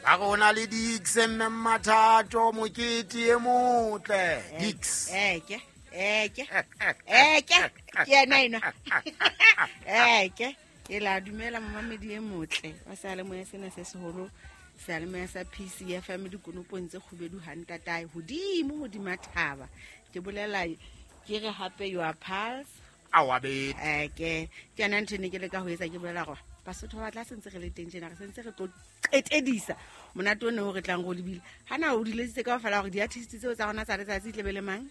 Ba re ho na le Dix mme Mmathato mokete e motle. Dix. Eke, eke, eke, ke yena enwa. Eke, ke la dumela momamedi e motle wa seyalemoya sena se seholo, seyalemoya sa PCFM, dikonopong tse kgubedu hantatae hodimo hodima thaba. Ke bolela ke re hape your pulse. Awa bete. Eke, ke yona ntho e ne ke leka ho etsa, ke bolela gore Basotho ba batla sentse re le teng tjena, re sentse re tlo qetedisa monate o ne o re tlang go lebile. Ha na o diletsitse ka ofela gore di-artist tseo tsa rona tsa letsatsi e tlebe le mang?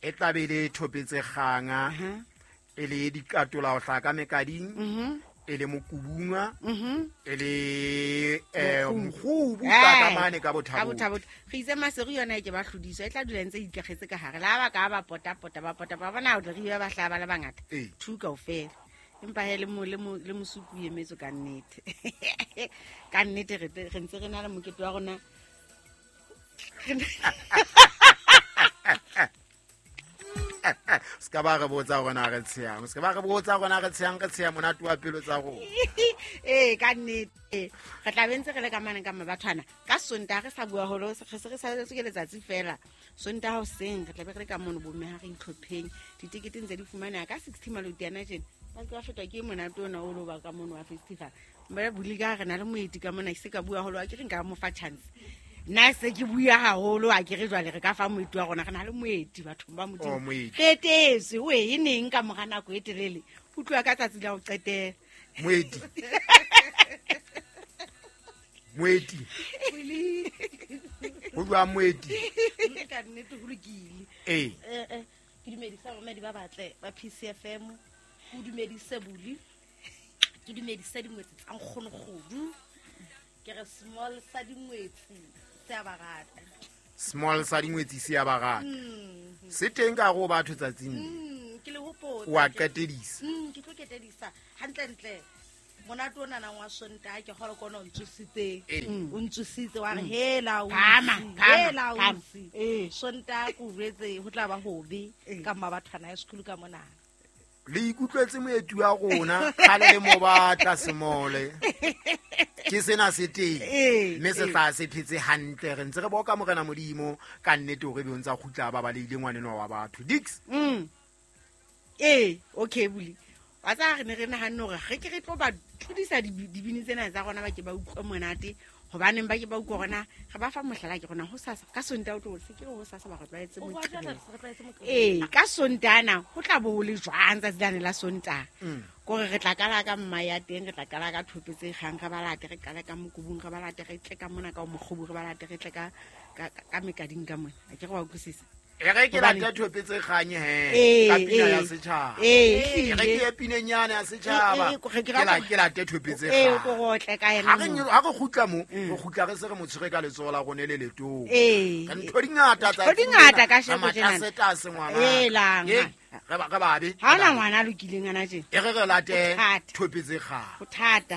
E tla be le thopetse kganga, e le dikatola ho hlaka mekading, e le mokubunga, e le Mokgubu. Mokgubu ka mane ka Ka bothabo. Bothabo. Re itse Maseru yona e ke ba hlodiswa, e tla dula ntse e ikagetse ka gare le ha ba ka ba potapota ba pota ba bona o tle re ba ba hlaya ba le bangata. Two kaofela, empa he le le mosuku o emetswe ka nnete, ka nnete re ntse re na le mokete wa rona. Se ka ba re botsa gore na re tsheyang, se ka ba re botsa gore na re tsheyang, re tsheya monate wa pelo tsa rona. Ee, ka nnete re tla be ntse re le ka mane ka mabathwana ka Sontaga, re sa bua holo re se re saletswe ke letsatsi fela. Sontaga hoseng re tla be re le ka mono bomme, ha re itlhopheng, ditekete ntse di fumaneha ka 60 maloti ana tjena, ba se ba fetwa ke monate ona o lo ba ka mono wa festival. Mme buli ka re na le moeti ka mona, ke se ka bua haholo, a ke re nka mo fa chance. Nna se ke bua haholo, a ke re jwale re ka fa moeti wa rona, re na le moeti bathong ba Modimo. Oh, moeti. Re etetswe o e neng ka mora nako e telele, o tloha ka tsatsi la ho qetela. Moeti, moeti, ho jwang moeti? Ka nnete ho lokile. Ke dumedisa bamamedi ba batle ba PCFM, ke dumedise Buli, ke dumedise dingwetsi tsa nkgonokgodu, ke re small sa dingwetsi se a ba rata. Small sa dingwetsi se a ba rata, se teng ka go batho tsatsing le. Ke le hopotsa. Wa qetedisa. Ke tlo ketedisa hantlentle monate o nanang wa Sontaha, ke kgole kona o ntsositseng. O ntsositse wa re hela ausi, Phama, phama, hela phama. ausi. Sontaha ke o jwetse ho tla ba hobe ka Mmabathwana High School ka mona. Le ikutlwetse moeti wa rona kgale le mo batla semole ke sena se teng, mme se tla se phetse hantle, re ntse re boka Morena Modimo ka nnete hore ebe o ntse a kgutla ba baleile ngwanenwa wa batho Dix. Ee, okay Buli, wa tsaya re ne re nahanne hore re ke re tlo ba tlodisa dibini tsena tsa rona, ba ke ba utlwe monate, hobaneng ba ke ba utlwe rona re ba fa mohlala ke rona ho sasa ka Sontaha o tlo se ke re ho sasa ba re tlwaetse O bua Moqebelo. jwale, re tlwaetse Moqebelo. Ee, ka Sontana ho tla bo ho le jwang tsatsi lane la Sontaha? Kore re tla qala ka mma ya teng, re tla qala ka thope tse kgang, re ba late, re qale ka mokubung, re ba late, re tle ka mona ka mokgobu, re ba late, re tle ka mekading ka mona, a ke re wa utlwisisa? E re ke Hobane late thope tse kganye he ka pina ya setjhaba. Ee, E re ke ye pineng yane ya setjhaba. Re ke Ke ke late thope tse Ee, kgang. ko go otle ka yena Ha re moo. ha re kgutla mo, re kgutla re se re mo tshwere ka letsoho la rone le letona. Ee. Re ntho di ngata Ntho di ngata ka sheko tjenana. Matlasetase ngwana. Helang, Ee, ha. re babe. Ha hona ngwana a lokileng ana tjena. E re re late Ho thata. thope tse kgang. Ho thata.